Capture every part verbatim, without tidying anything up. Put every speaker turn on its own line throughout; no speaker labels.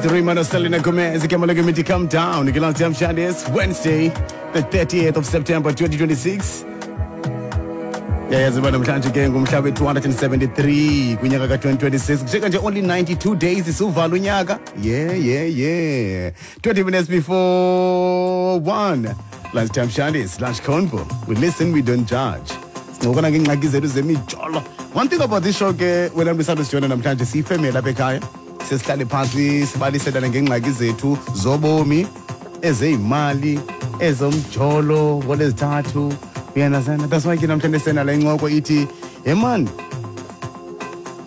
Right, Raymond Selena Gomez, Kamala Committee, come down. It's Wednesday, the thirtieth of September twenty twenty-six. Yayazi uba namhlanje ke ngumhla we-two hundred seventy-three kwinyaka ka-twenty twenty-six. Kushiyeka nje only ninety-two days isiwuvala unyaka. yeah yeah yeah twenty minutes before one, Lunchtime Shandis, Lunch Convo. We listen, we don't judge. Sincokola ngeengxaki zethu zemijolo. One thing about this show ke, wena mntu namhlanje, siyifemeli apha ekhaya. Sesihlale phantsi, sibaliselane ngeengxaki zethu zobomi, ezeyimali, ezomjolo ngolezithathu. You understand? That's why ke namhlanje senale incoko ithi, hey man,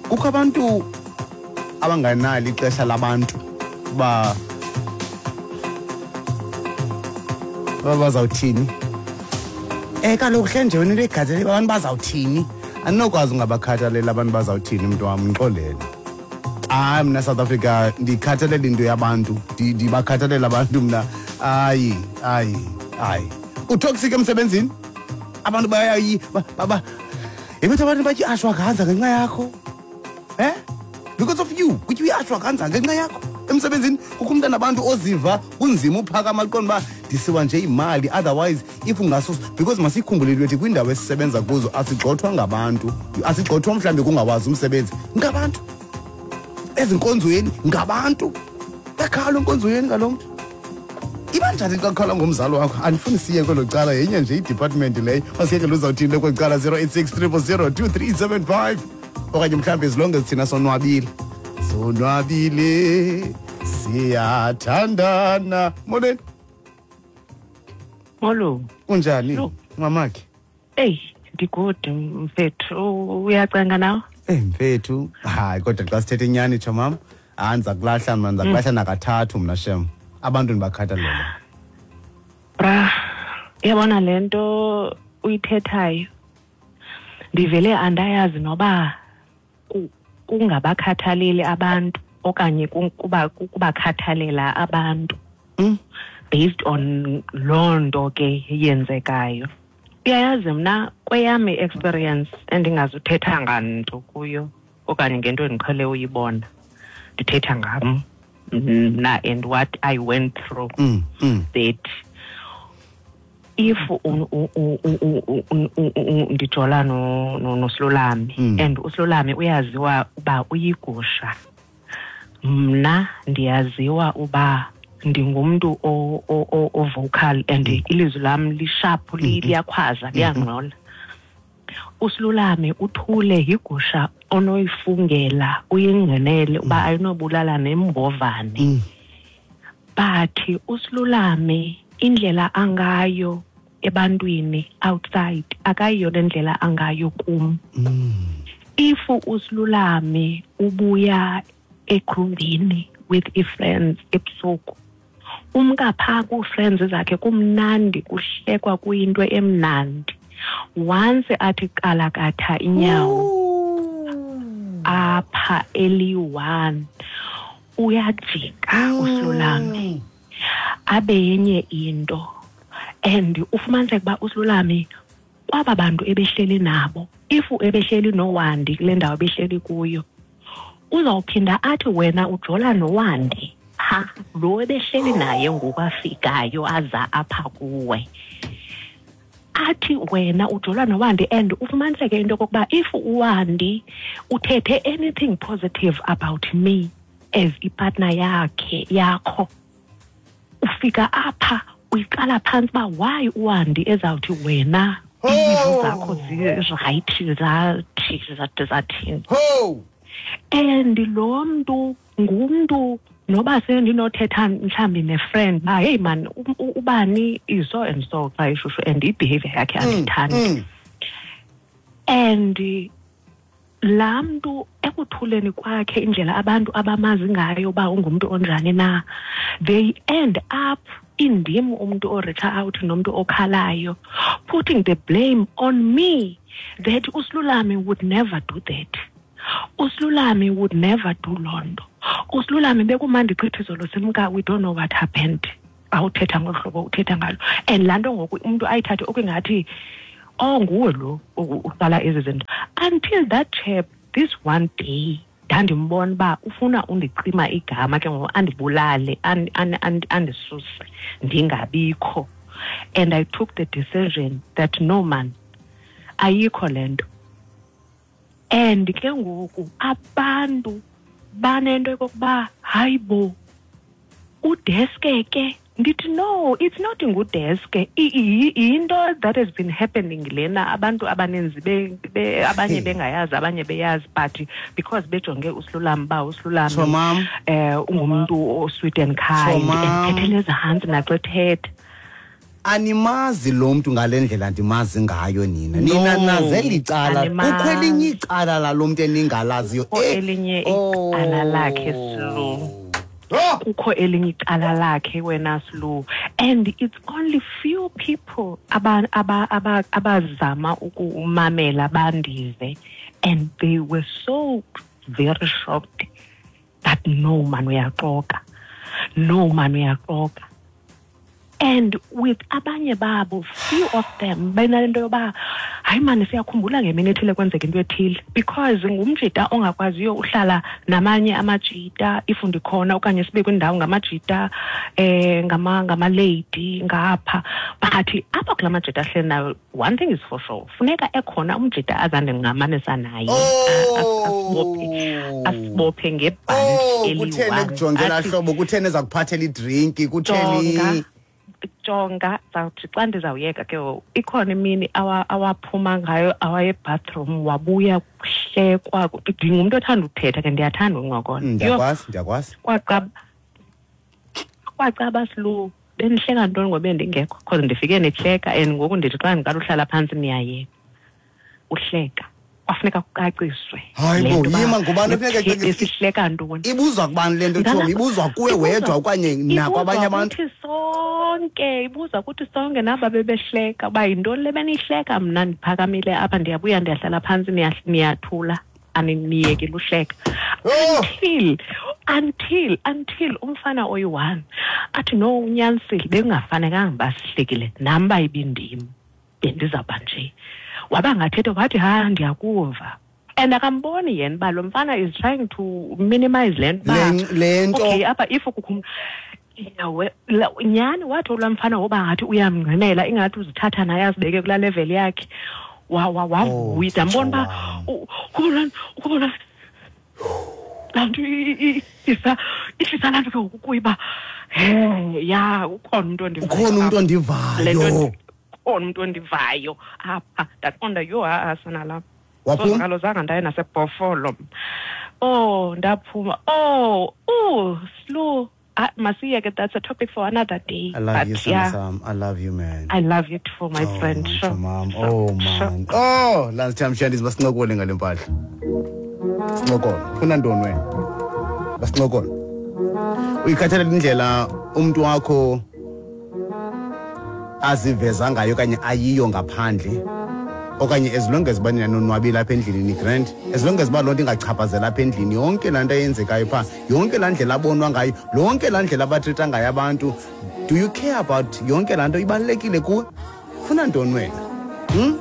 kukho abantu abanganalo ixesha labantu uba bazawuthini. Eh kaloku hle nje wena into egatshele abantu bazawuthini. Andinokwazi ungabakhathalela abantu bazawuthini, mntu wam, ndixolele. Hayi, mna South Africa ndikhathalela into yabantu, ndibakhathalela abantu mna. Hayi, hayi, hayi. Utoxic emsebenzini? Abantu bayayi baba. Yebethu, abantu batyi ashwagandha ngenxa yakho. Eh? Because of you, kutyiwa i-ashwagandha ngenxa yakho. Emsebenzini kukho umntana abantu oziva kunzima uphakama, aqonda uba ndisiwa nje imali, otherwise if ungasus, because masikhumbule into ethi kwiindawo esisebenza kuzo asigxothwa ngabantu, asigxothwa mhlawumbi kungawazi umsebenzi, ngabantu. Ezinkonzweni ngabantu, yakhala enkonzweni ngalo mntu. Iba njani xa kukhala ngomzali wakho? Andifuni siye kwelo cala, yenye nje idepartment leyo. Masiyeke luzawuthini kweli cala. zero eight six zero zero zero two three seven five, okanye mhlawumbi as long as thina sonwabile, sonwabile, siyathandana. Molweni.
Molo.
Kunjani, mamakhe?
Eyi, ndigood, mfethu. Uyacenga nawe?
Eh mfethu, hayi, kodwa xa sithetha inyani, tsho mama, hayi, ndiza kulahla mna, ndiza kulahla nakathathu mna shem. Abantu ndibakhathalele.
Bra, uyabona le nto uyithethayo, ndivele andayazi noba kungabakhathaleli abantu okanye kuba kubakhathalela abantu
Mm.
based on loo nto ke yenzekayo. Uyayazi, mna kweyam i-experience, endingazuthetha nganto kuyo okanye ngento endiqhele uyibona, ndithetha ngam mna and what I went through,
Mm. Mm.
that if ndijola noSilolame
Mm.
and uSilolame uyaziwa uba uyigusha, mna ndiyaziwa uba ndingumntu o-vocal and ilizwi lam lisharp, liyakhwaza, liyangxola. USilolame uthule, yigusha onoyifungela uyingqinele uba ayinobulala nembovane.
Mm.
But uSilolame, indlela angayo ebantwini outside akayiyo le ndlela angayo kum.
Mm.
If uSilolame ubuya egroovini with ii-friends ebusuku, umka phaa kuu-friends zakhe kumnandi, kuhlekwa, kuyinto emnandi. Once athi kalakatha inyawo apha eliyi-one, uyajika uSilolame abe yenye into. And ufumaniseke uba uSilolame kwaba bantu ebehleli nabo, if ebehleli noWandi kule ndawo ebehleli kuyo, uzawuphinda athi wena ujola noWandi, ha, lo ebehleli naye ngoku afikayo aza apha kuwe, athi wena ujola noWandi. And ufumaniseke into yokokuba if uWandi uthethe anything positive about me as ipartner yakhe yakho, ufika apha uyiqala phantsi uba why uWandi ezawuthi wena izinto zakho zirayithi, zathi zathi zathini.
Ho!
And lo mntu ngumntu noba sendinothetha mhlawumbi nefriend uba, "Hey man, ubani is so and so xa ishushu and i-behavior yakhe andiyithandi."
Mm.
And laa mntu ekuthuleni kwakhe, indlela abantu abamazi ngayo uba ungumntu onjani na, they end up indim umntu oreacha out nomntu okhalayo, putting the blame on me that uSilulame would never do that, uSilulame would never do loo nto, uSilulame bekumandi gqithi izolo simka, we don't know what happened. Awuthetha ngolu hlobo uthetha ngalo, and laa nto ngoku umntu ayithathe okungathi, oh, nguwe lo uqala ezi zinto, until that chap this one day Ndandimbona uba ufuna undicima igama ke ngoku, andibulale, andisuse ndingabikho. And I took the decision that no man, ayikho le nto. And ke ngoku abantu banento yokokuba hayi bo, udeske ke. Ndithi no, it's not ngudeske. Into that has been happening lena, abantu abaninzi abanye bengayazi, abanye beyazi, but because bejonge uSilulami ba uSilulami eh ungumntu o-sweet and kind, ethethele ezantsi naxa ethetha.
Animazi lo mntu ngale ndlela ndimazi ngayo nina. Nina naze licala, kukho elinye icala lalo mntu eningalaziyo.
Elinye icala lakhe Silu. Kukho elinye icala lakhe wena Silu. And it's only few people aba aba aba abazama ukumamela bandive, and they were so very shocked that no man uyaxoka, no man uyaxoka. And with abanye babo, few of them benalento yoba hayi mani siyakhumbula ngemini ethile kwenzeka into ethile, because ngumjita ongakwaziyo uhlala namanye amajita if ndikhona okanye sibe kwindawo ngamajita eh ngama ngama lady ngapha. But apha kula majita ahleli nayo, one thing is for sure, funeka ekhona umjita azandingamanisa naye, asibophe asibophe ngebhanti eliyi-one.
Kutheni ekujongela hlobo, kutheni ezakuphathela idrinki, kutheni
jonga zawuthi xa ndizawuyeka ke ikhona imini awaphuma ngayo awaye bathroom wabuya kuhlekwa. Ndingumntu othanda ukuthetha ke, ndiyathanda uncokola.
Ndiyakwazi, ndiyakwazi.
Kwacaba kwacaba Silu, benihleka ntoni ngoba bendingekho, because ndifike nihleka and ngoku ndithi xa ndiqala uhlala phantsi niyayeka uhleka. Kwafuneka kucaciswe.
Hayi bo, yima ngubani ofuneka
ecaciswe? Sihleka ntoni?
Ibuzwa kubani le nto, Tshomi? Ibuzwa kuwe wedwa okanye nakwabanye abantu?
Kuthi sonke, ibuzwa kuthi sonke naba bebehleka uba yintoni le benihleka. Mna ndiphakamile apha, ndiyabuya ndiyahlala phantsi, niyathula, aniyekile uhleka. Until until until umfana oyi-one athi no, unyanisile, bekungafanekanga uba sihlekile nam uba ibindim bendizawuba nje. Waba ngathetha wathi ha ndiyakuva. And akamboni yena uba lo mfana is trying to minimize le nto.
Le nto.
Okay, apha if kukho nyhani wathi olaa mfana woba ngathi uyamngqinela, ingathi uzithatha naye azibeke kulaa level yakhe. Wavuya, ndambona uba ukubona ukubona laa nto ihlisa laa nto ke ngoku kuye uba he ya ukhona umntu ondivayo.
Ukhona umntu ondivayo.
Ukhona umntu ondivayo apha. Ndaqonda yho ha-a sana lam.
Waphuma?
Kaloku zange ndaye naseBhofolo. Oh, ndaphuma. Oh, oh, Silu. Masiyeke, that's a topic for another day.
I love
but,
you,
yeah,
Sam. I love you, man.
I love you too, my
oh,
friend.
Man,
Sure,
mom.
Sure,
oh, man.
Sure.
Oh, last time Shandis basincokole ngale mpahla. Sincokole. Funa ntoni wena? Basincokole. Uyikhathalela indlela umuntu wakho aziveza ngayo okanye ayiyo ngaphandle, okanye as long as bani nonwabile apha endlini ni grand, as long as ba loo nto ingachaphazela apha endlini, yonke laa nto eyenzekayo phaa, yonke laa ndlela abonwa ngayo, yonke laa ndlela abathetha ngayo abantu, do you care about yonke laa nto ibalulekile kuwe? Funa ntoni wena? Hmm?